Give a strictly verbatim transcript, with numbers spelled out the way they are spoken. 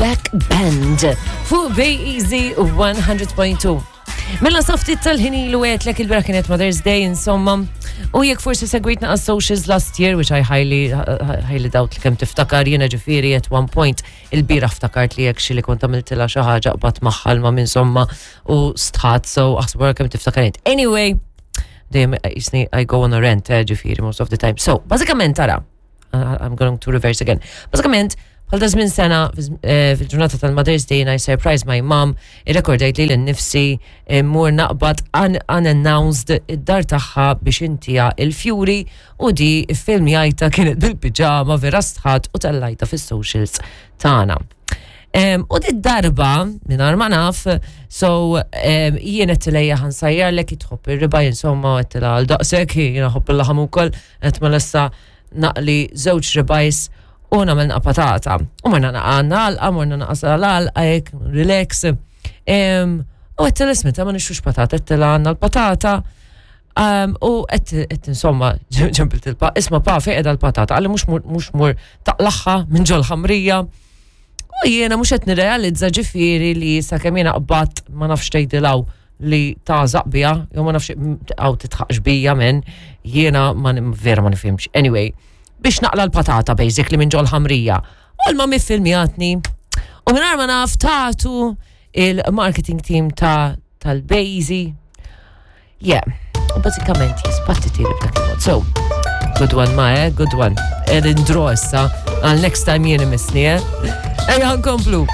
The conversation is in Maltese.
Back Band fuq Bay Easy one hundred point two. Mela sa ftit tal-ħin ilu għedtlek il-bieraħ kienet Mother's Day, insomma. U jekk forsi segwitna għas socials last year, which I highly, highly doubt li kemm tiftakar, jiena ġifieri at one point il-bieraħ ftakart li jekk xi li kont għamiltilha xi ħaġa qbad magħha ma insomma u stħat, so aħsbu kemm tiftakar int. Anyway, dejjem jisni I go on a rant, eh, ġifieri, most of the time. So, bażikament tara, I'm going to reverse again. Bażikament, bħal da żmien sena eh, fil-ġurnata tal-Mother's Day I surprised my mom, irrekordajt lili nnifsi mmur naqbad un unannounced id-dar tagħha biex intiha il-fjuri u di filmjajtha kienet bil-pijama, vera stħat, u tellajtha fis-socials tagħna. Um, u di darba, minn ma naf, so um, jien għedtilha, "Ejja ħa nsajjarlek, tħobb ir-ribeye," insomma, għedtilha għal daqsek, jiena nħobb il-laħam ukoll, għedt mela issa naqli żewġ ribeyes u nagħmel naqa patata. U morna naqa għalqa, morna naqa sal-għalqa, hekk, relax. Um, u għedtilha, "Isma', ma nixtrux patata," għedtilha, "għandna l-patata." Um, u għedt insomma, ċempilt il-pa, "Isma' pa, fejn qiegħda l-patata?" Qalli, mhux mur, mhux mur taqlagħha minn ġol ħamrija. U jiena mhux qed nirrealizza ġifieri li sakemm jiena qbadt ma nafx tgħidilhaw li tagħżaq bija, jew ma nafx għaw titħaqx bija men, jiena ma vera ma nifhimx. Anyway, biex naqla l-patata basically minn ġol ħamrija. U l-mami filmjatni. U minn ma naf tatu il-marketing team ta' tal-Bejzi. Yeah, u bażikament jispattiti li b'dak il-mod. So, good one ma, eh? Good one. Edin draw issa, għal next time jien imissni, eh? Ejja nkomplu.